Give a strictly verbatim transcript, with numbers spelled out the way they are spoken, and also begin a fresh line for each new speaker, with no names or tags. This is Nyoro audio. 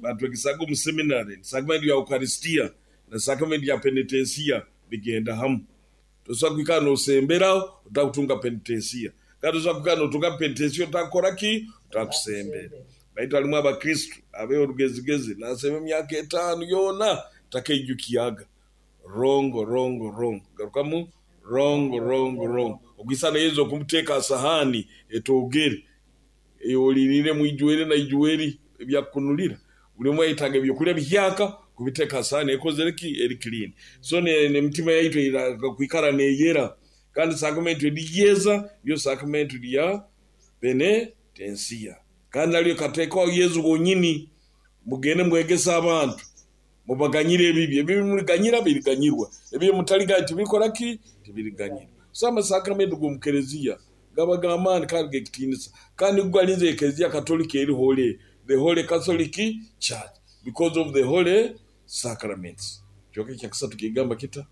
Batwegesaga omu seminary, sakramenti ya Ukaristia na sakramenti ya penitensiya bigenda hamu. Tosobora kwikara noosembera otakutunga penitensiya, kandi tosobora kwikara nootunga penitensiya otakukora ki? Otakusembera. Baitu halumu Abakristo abeeha orugezigezi, naasemba emyaka etaano yoona takaijukyaga. Wrong, wrong, wrong, garukamu, wrong, wrong, wrong. Okwisana Yesu okumuteeka ha sahaani etoogere, ei oliiriiremu ijweri na ijweri ebyakukunulira. Buli omu ayetaaga ebyokulya bihyaka kubiteeka ha sahaani ekozere ki? Eri clean. So n'emitima yaitu eine kwikara neeyera, kandi saakamenti eriyeza niyo saakamenti lya penitensiya, kandi nalyo likateekwaho Yesu wonyini: mugende mwegese abantu, mubaganyire ebibi, ebibi muliganyira biriganyirwa, ebi mutaliganyira tibirikora ki? Tibiriganyirwa. So amasaakamenti g'omu Kelezia gaba g'amaani kandi g'ekitiinisa, kandi nugo galinzire Ekelezia Katolika eri holy, the Holy Catholic Church, because of the holy sacraments. Ekicweka ekya kasatu kigamba kita?